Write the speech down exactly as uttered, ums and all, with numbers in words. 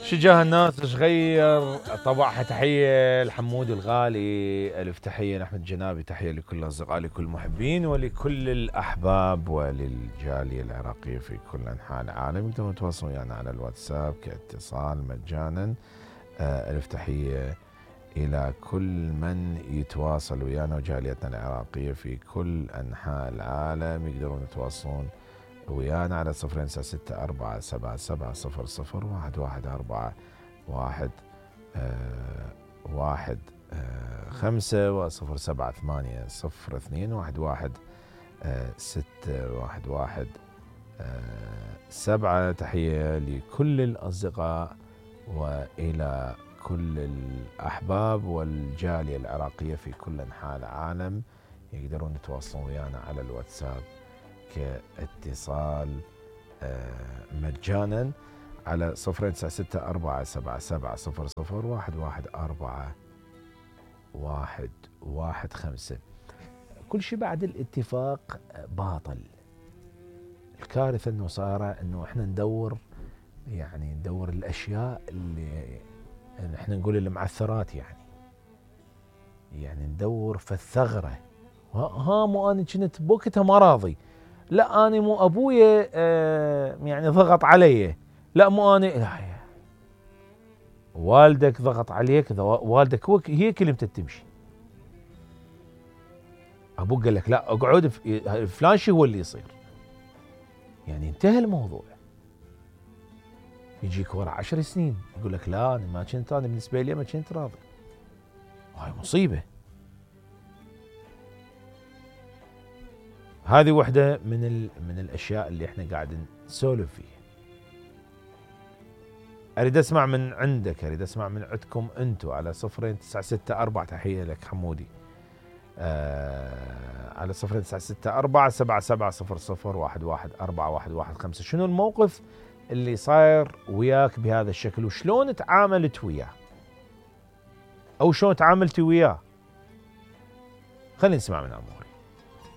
شجاه الناس ايش غير طبعها. تحيه الحمودي الغالي، الف تحيه لاحمد جنابي، تحيه لكل الاصدقاء، لكل المحبين ولكل الاحباب وللجاليه العراقيه في كل انحاء العالم. يقدرون يتواصلون ويانا يعني على الواتساب كاتصال مجانا. الف تحيه الى كل من يتواصل ويانا وجاليتنا العراقيه في كل انحاء العالم. يقدرون يتواصلون ويانا على صفرين تسعة ستة أربعة سبعة سبعة صفر صفر واحد واحد أربعة واحد آه واحد آه خمسة وصفر سبعة ثمانية صفر اثنين واحد واحد آه ستة واحد واحد آه سبعة. تحية لكل الأصدقاء وإلى كل الأحباب والجالية العراقية في كل أنحاء العالم. يقدرون يتواصلون ويانا على الواتساب كاتصال مجانا على صفرين تسعة ستة أربعة سبعة سبعة صفر صفر واحد واحد أربعة واحد واحد خمسة. كل شيء بعد الاتفاق باطل. الكارثة انه صار انه احنا ندور يعني ندور الاشياء اللي احنا نقول المعثرات يعني يعني ندور في الثغرة. ها مو انا كنت بوقتها ما راضي، لا انا مو ابويا آه يعني ضغط علي، لا مو انا لا والدك ضغط عليك، والدك هو هي كلمته تمشي. ابوك قال لك لا اقعد فلان شيء هو اللي يصير، يعني انتهى الموضوع. يجيك ورا عشر سنين يقول لك لا انا ما كنت، انا بالنسبه لي ما كنت راضي. وهاي مصيبه. هذه واحده من ال... من الاشياء اللي احنا قاعد نسولف فيها. اريد اسمع من عندك، اريد اسمع من عندكم انتم على صفرين تسعة ستة أربعة. تحيه لك حمودي. آه على صفرين تسعة ستة أربعة سبعة سبعة صفر صفر واحد واحد أربعة واحد واحد خمسة. شنو الموقف اللي صاير وياك بهذا الشكل وشلون تعاملت وياه او شلون تعاملتي وياه؟ خلينا نسمع من اموري.